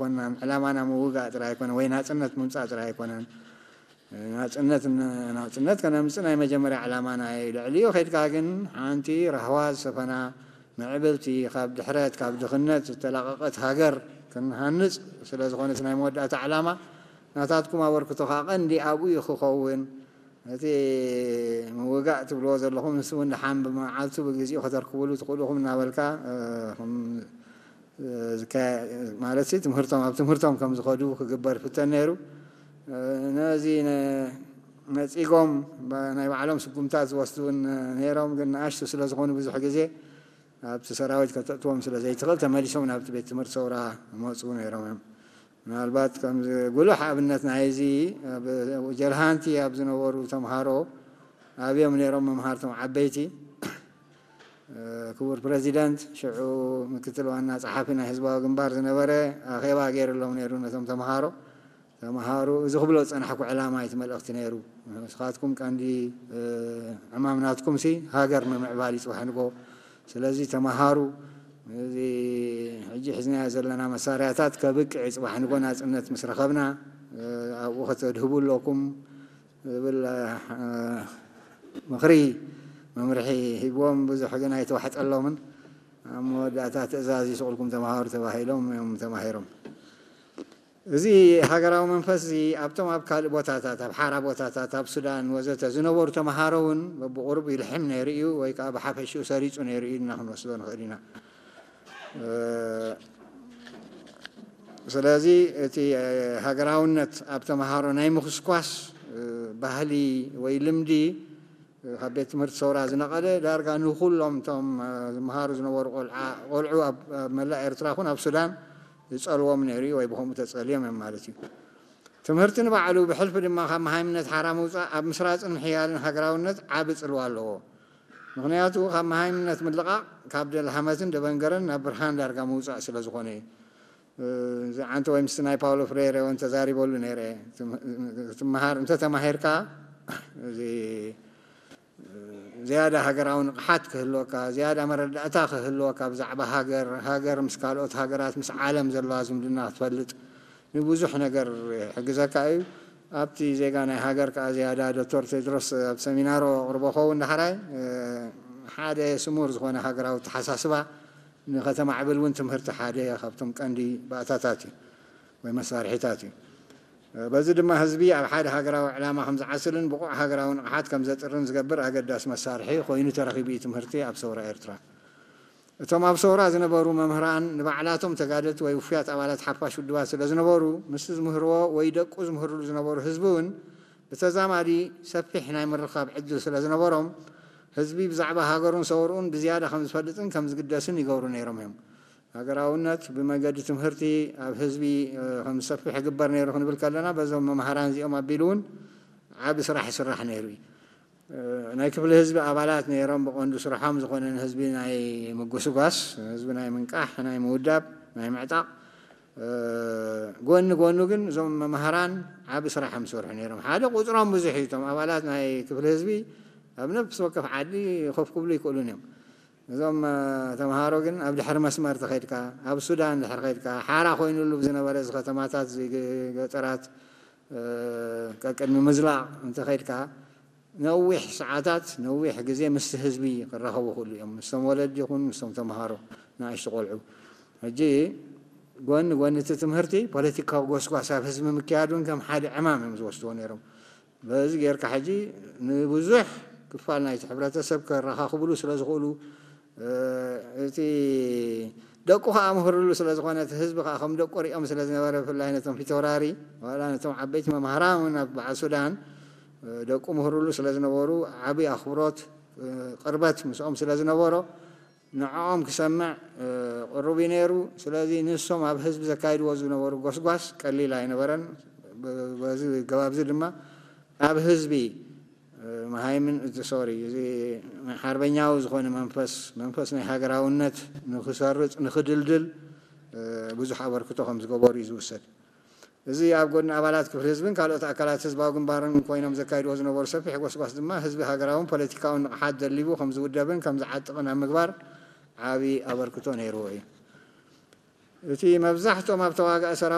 ኣይኮናን። ዕላማና ምውጋእ ጥራይ ኣይኮነን፣ ወይ ናጽነት ምምጻእ ጥራይ ኣይኮነን። ናጽነት ን-፣ ናጽነት ከነምጽእ ናይ መጀመርያ ዕላማና እዩ። ልዕሊኡ ከይድካ ግን ሓንቲ ራህዋ ዝሰፈና፣ ምዕብልቲ፣ ካብ ድሕረት፣ ካብ ድኽነት ዝተላቐቐት ሃገር ክንሃንጽ ስለ ዝኾነ፣ እቲ ናይ መወዳእታ ዕላማ ናታትኩም ኣበርክቶ ከኣ ቀንዲ ኣብኡ እዩ ክኸውን። እቲ ምውጋእ ትብልዎ ዘለኹም፣ ንሱ እውን ደሓን ብመዓልቱ ብግዜኡ ከተርክብሉ ትኽእሉ ኢኹም እናበልካ፣ እ፣ ከም፣ እ፣ ዝካ-፣ ማለት ሲ ትምህርቶም፣ ኣብ ትምህርቶም ከም ዝኸዱ ክግበር ይፍተን ነይሩ። እ፣ ነዚ ነ-፣ ነጺጎም ባ-፣ ናይ ባዕሎም ስጉምታት ዝወስዱ እውን ነይሮም፣ ግን ንኣሽቱ ስለ ዝኾኑ ብዙሕ ግዜ ኣብቲ ሰራዊት ከተእትዎም ስለ ዘይትኽእል፣ ተመሊሶም ናብቲ ቤት ትምህርቲ ሰውራ ይመጹ ነይሮም እዮም። ምናልባት ከም ጉሉሕ ኣብነት ናይዚ፣ ኣብ ጀልሃንቲ ኣብ ዝነበሩ ተምሃሮ ኣብዮም ነይሮም መምሃርቶም ዓበይቲ። እ፣ ክቡር ፕረዚደንት፣ ሽዑ ምክትል ዋና ጸሓፊ ናይ ህዝባዊ ግንባር ዝነበረ፣ ኣኼባ ገይርሎም ነይሩ ነቶም ተምሃሮ። ተምሃሮ፣ እዚ ክብሎ ዝጸናሕኩ ዕላማ እቲ መልእኽቲ ነይሩ። ንስኻትኩም ቀንዲ፣ እ፣ ዕማም ናትኩም ሲ ሃገር ምምዕባል እዩ ጽባሕ ንግሆ። ስለዚ ተምሃሩ፣ እዚ ሕጂ ሒዝናዮ ዘለና መሳርያታት ከብቅዕ እዩ፣ ጽባሕ ንግሆ ናጽነት ምስ ረኸብና፣ እ፣ ኣብኡ ከተድህቡ ኣለኩም ዝብል፣ እ፣ ምኽሪ፣ መምርሒ ሂብዎም። ብዙሕ ግን ኣይተዋሕጠሎምን። ኣብ መወዳእታ ትእዛዝ ይስቕልኩም ተምሃሩ ተባሂሎም እዮም ተማሂሮም። እዚ ሃገራዊ መንፈስ እዚ ኣብቶም ኣብ ካልእ ቦታታት፣ ኣብ ሓራ ቦታታት፣ ኣብ ሱዳን ወዘተ ዝነበሩ ተምሃሮ እውን በብቑሩብ ይልሕም ነይሩ እዩ፣ ወይ ከኣ ብሓፈሽኡ ሰሪጹ ነይሩ እዩ ኢልና ክንወስዶ ንኽእል ኢና። እ፣ ስለዚ እቲ፣ እ፣ ሃገራውነት ኣብ ተምሃሮ ናይ ምኹስኳስ፣ እ፣ ባህሊ ወይ ልምዲ ካብ ቤት ትምህርቲ ሰውራ ዝነቐለ ዳርጋ ንኹሎም እቶም፣ እ፣ ዝመሃሩ ዝነበሩ ቆልዓ-፣ ቆልዑ ኣብ፣ ኣብ መላእ ኤርትራ ኹን ኣብ ሱዳን ዝጸልዎም ነይሩ እዩ፣ ወይ ብኸምኡ ተጸልዮም እዮም ማለት እዩ። ትምህርቲ ንባዕሉ ብሕልፊ ድማ ካብ መሃይምነት ሓራ ምውጻእ ኣብ ምስራጽን ምሕያልን ሃገራውነት ዓቢ ጽልዋ ኣለዎ። ምኽንያቱ ካብ መሃይምነት ምልቓቕ ካብ ደልሃመትን ደበንገረን ናብ ብርሃን ዳርጋ ምውጻእ ስለ ዝኾነ እዩ። እ፣ እዚ ዓንተ ወይ ምስቲ ናይ ፓውሎ ፍሬሬ እውን ተዛሪበሉ ነይረ። ትም-፣ ትምሃር፣ እንተ ተማሂርካ፣ እዚ፣ እ፣ ዝያዳ ሃገራዊ ንቕሓት ክህልወካ፣ ዝያዳ መረዳእታ ክህልወካ ብዛዕባ ሃገር፣ ሃገር ምስ ካልኦት ሃገራት፣ ምስ ዓለም ዘለዋ ዝምድና ክትፈልጥ ንብዙሕ ነገር ይሕግዘካ እዩ። ኣብቲ ዜጋ ናይ ሃገር ከኣ ዝያዳ ዶክተር ቴድሮስ ኣብ ሰሚናሮ ኣቕርቦ ኸውን ዳሕራይ፣ እ፣ ሓደ ስሙር ዝኾነ ሃገራዊ ኣተሓሳስባ ንኸተማዕብል እውን ትምህርቲ ሓደ ካብቶም ቀንዲ ባእታታት እዩ ወይ መሳርሒታት እዩ። በዚ ድማ ህዝቢ ኣብ ሓደ ሃገራዊ ዕላማ ከም ዝዓስልን ብቑዕ ሃገራዊ ንቕሓት ከም ዘጥርን ዝገብር ኣገዳሲ መሳርሒ ኮይኑ ተረኺቡ እዩ ትምህርቲ ኣብ ሰውራ ኤርትራ። እቶም ኣብ ሰውራ ዝነበሩ መምህራን ንባዕላቶም ተጋደልቲ ወይ ውፉያት ኣባላት ሓፋሽ ውድባት ስለ ዝነበሩ፣ ምስቲ ዝምህርዎ ወይ ደቁ ዝምህርሉ ዝነበሩ ህዝቢ እውን ብተዛማዲ ሰፊሕ ናይ ምርኻብ ዕድል ስለ ዝነበሮም፣ ህዝቢ ብዛዕባ ሃገሩን ሰውርኡን ብዝያዳ ከም ዝፈልጥን ከም ዝግደስን ይገብሩ ነይሮም እዮም። ሃገራውነት ብመገዲ ትምህርቲ ኣብ ህዝቢ፣ እ፣ ከም ዝሰፍሕ ይግበር ነይሩ ክንብል ከለና፣ በዞም መምሃራን እዚኦም ኣቢሉ እውን ዓቢ ስራሕ ይስራሕ ነይሩ እዩ። እ፣ ናይ ክፍሊ ህዝቢ ኣባላት ነይሮም፣ ብቐንዱ ስርሖም ዝኾነ ንህዝቢ ናይ ምጉስጓስ፣ ህዝቢ ናይ ምንቃሕ፣ ናይ ምውዳብ፣ ናይ ምዕጣቕ፣ እ፣ ጎኒ ጎኑ ግን እዞም መምሃራን ዓቢ ስራሕ እዮም ዝሰርሑ ነይሮም። ሓደ ቁጽሮም ብዙሕ እዩ። እቶም ኣባላት ናይ ክፍሊ ህዝቢ ኣብ ነፍሲ ወከፍ ዓዲ ኮፍ ክብሉ ይክእሉን እዮም። እዞም፣ እ፣ ተምሃሮ ግን ኣብ ድሕሪ መስመር ተኸይድካ፣ ኣብ ሱዳን ድሕሪ ከይድካ፣ ሓራ ኮይኑሉ ብዝነበረ እዚ ከተማታት፣ እዚ ገ-፣ ገጠራት፣ እ፣ ቀቅድሚ ምዝላቕ እንተኸይድካ፣ ነዊሕ ሰዓታት፣ ነዊሕ ግዜ ምስቲ ህዝቢ ክራኸቡ ይኽእሉ እዮም። ምስቶም ወለዲ ይኹን ምስቶም ተምሃሮ፣ ንኣሽቱ ቆልዑ። ሕጂ ጎኒ ጎኒ እቲ ትምህርቲ፣ ፖለቲካዊ ጎስጓስ ኣብ ህዝቢ ምክያድ እውን ከም ሓደ ዕማም እዮም ዝወስድዎ ነይሮም። በዚ ጌርካ ሕጂ ንብዙሕ ክፋል ናይቲ ሕብረተሰብ ከረኻኽብሉ ስለ ዝኽእሉ፣ እ፣ እቲ ደቁ ኸኣ ምህርሉ ስለ ዝኾነ፣ እቲ ህዝቢ ኸኣ ከም ደቁ ሪኦም ስለ ዝነበረ፣ ብፍላይ ነቶም ፊተውራሪ፣ ዋላ ነቶም ዓበይቲ መምሃራን እውን ኣብ በዓል ሱዳን፣ እ፣ ደቁ ምህርሉ ስለ ዝነበሩ፣ ዓቢ ኣኽብሮት፣ እ፣ ቅርበት ምስኦም ስለ ዝነበሮ፣ ንዕኦም ክሰምዕ፣ እ፣ ቅሩብ እዩ ነይሩ። ስለዚ ንሶም ኣብ ህዝቢ ዘካይድዎ ዝነበሩ ጎስጓስ ቀሊል ኣይነበረን። ብ-፣ በዚ ገባብ እዚ ድማ ኣብ ህዝቢ፣ እ፣ መሃይምን፣ እቲ፣ ሶሪ፣ እዚ ሓርበኛዊ ዝኾነ መንፈስ፣ መንፈስ ናይ ሃገራውነት ንኽሰርጽ፣ ንኽድልድል፣ እ፣ ብዙሕ ኣበርክቶ ከም ዝገበሩ እዩ ዝውሰድ። እዚ ኣብ ጎድኒ ኣባላት ክፍሊ ህዝብን ካልኦት ኣካላት ህዝባዊ ግንባርን ኮይኖም ዘካይድዎ ዝነበሩ ሰፊሕ ጎስጓስ ድማ ህዝቢ ሃገራውን ፖለቲካውን ንቕሓት ደሊቡ ከም ዝውደብን ከም ዝዓጥቕን ኣብ ምግባር ዓቢ ኣበርክቶ ነይርዎ እዩ። እቲ መብዛሕትኦም ኣብ ተዋጋኢ ሰራዊት